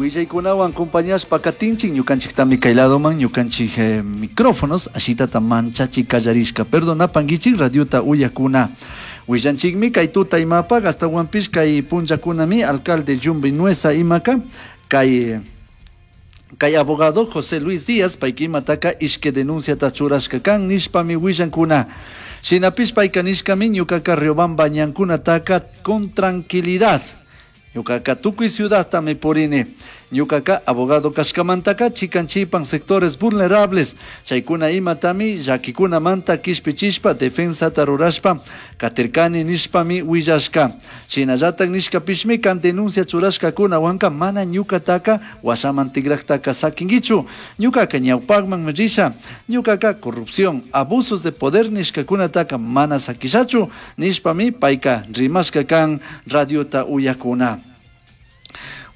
Willaykunawan compañashpa katinchik ñukanchiktami kay ladoman ñukanchik micrófonos ashitata manchachi kallarishka. Perdonapankichik radiota uyakuna. Willanchikmi kay tuta imapaq astawanpish kay punllakunami alcalde Yumbi Nueza imaka kay kay abogado José Luis Díaz payka imataka ishki denunciata churashka kan nishpami willankuna. Shinapish payka nishkami ñukaka Riobamba ñankunataka con tranquilidad. Ñukaka tukuy ciudadtami purini. Ñukaka abogado kashkamantaka chikan chipan sectores vulnerables chaykuna imatami llakikunamanta kishpichishpa defensata rurashpa katirkani nishpami willashka. Shinallatak nishkapishmi kan denuncia churashkakunawanka mana ñukataka washaman tikraktaka sakinkichu. Ñukaka ñawpakman risha. Ñukaka corrupción, abusos de poder nishkakunataka mana sakishachu nishpami payka rimashka kan radiota uyakuna.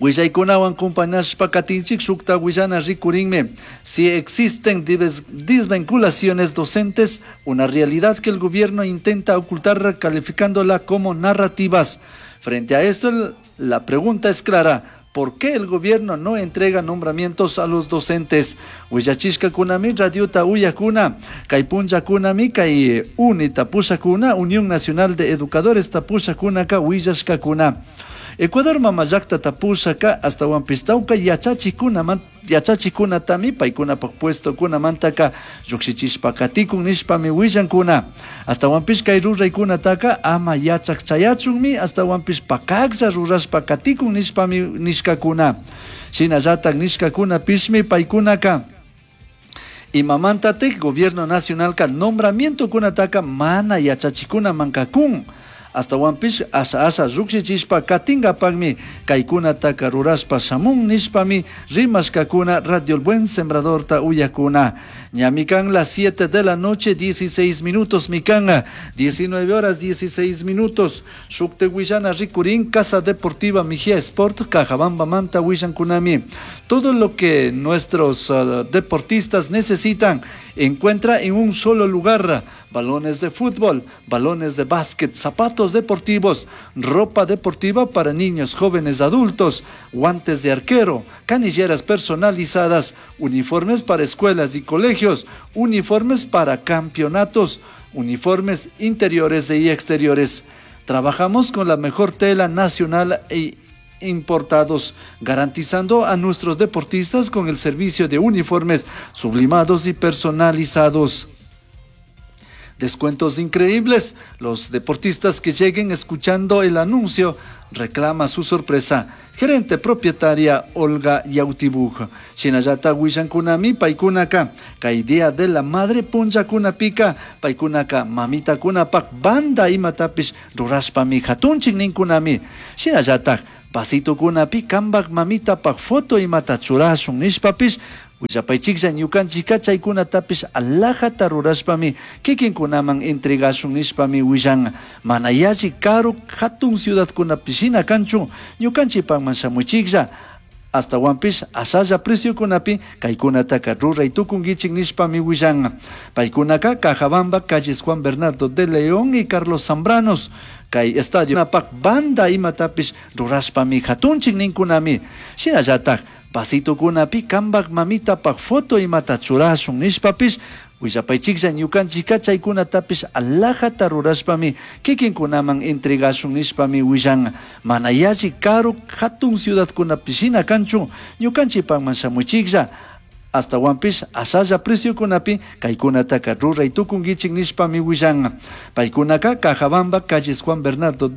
Willaykunawan compañashpa katinchik shukta willana rikurinmi. Si existen desvinculaciones docentes, una realidad que el gobierno intenta ocultar calificándola como narrativas. Frente a esto, la pregunta es clara. ¿Por qué el gobierno no entrega nombramientos a los docentes? Willachishkakunami radiota uyakuna, kay punllakunami kay UNE tapushakuna, Unión Nacional de Educadores tapushakunaka willashkakuna. Ecuador mama llakta tapushaka astawanpish tawka yachachikunatami paykunapak puestokunamantaka llukshichishpa katikun nishpami willankuna. Astawanpish kay ruraykunataka ama yachak chayachunmi astawanpish pakaklla rurashpa katikun nishpami nishkakuna. Shinallatak nishkakunapishmi paykunaka imamantatik gobierno nacionalka nombramientokunataka mana yachachikunamanka kun. Astawanpish asha asha llukshichishpa katingapakmi kaykunataka rurashpa shamun nishpami rimashkakuna Radio El Buen Sembradorta uyakuna. Ñami kan las 7 de la noche 16 minutos mikanga 19 horas 16 minutos. Shukte willana rikurin Casa Deportiva Mejía Sport Cajabamba Manta willankunami. Todo lo que nuestros deportistas necesitan encuentra en un solo lugar. Balones de fútbol, balones de básquet, zapatos deportivos, ropa deportiva para niños, jóvenes, adultos, guantes de arquero, canilleras personalizadas, uniformes para escuelas y colegios, uniformes para campeonatos, uniformes interiores y exteriores. Trabajamos con la mejor tela nacional e importados, garantizando a nuestros deportistas con el servicio de uniformes sublimados y personalizados. Descuentos increíbles. Los deportistas que lleguen escuchando el anuncio reclama su sorpresa. Gerente propietaria Olga Yautibuj. Shinallata willankunami paykunaka. Kay día de la madre punllakunapika. Paykunaka mamitakunapak banda imatapish rurashpami hatunchik ninkunami. Shinallatak vasitokunapi kambak mamitapak foto imata churashun nishpapish willapaychiklla ñukanchika chaykunatapish alajata rurashpami kikinkunaman entregashun nishpami willan. Mana yalli karu hatun ciudadkunapi shina kanchu ñukanchikpakman shamuchiklla. Astawanpish ashalla preciokunapi kaykunataka ruray tukunkichik nishpami willan. Paykunaka Cajabamba, calles Juan Bernardo de León y Carlos Zambranos. Kay estadio napak banda imatapish rurashpami hatunchik ninkunami. Shinallatak vasitokunapi kambak mamitapak foto imata churashun nishpapish willapaychiklla ñukanchika chaykunatapish alajata rurashpami kikinkunaman entregashun nishpami willan. Mana yalli karu hatun ciudadkunapi shina kanchu ñukanchikpakman shamuchiklla. Astawanpish ashalla preciokunapi kaykunataka ruray tukunkichik nishpami willan. Paykunaka Cajabamba, calles Juan Bernardo de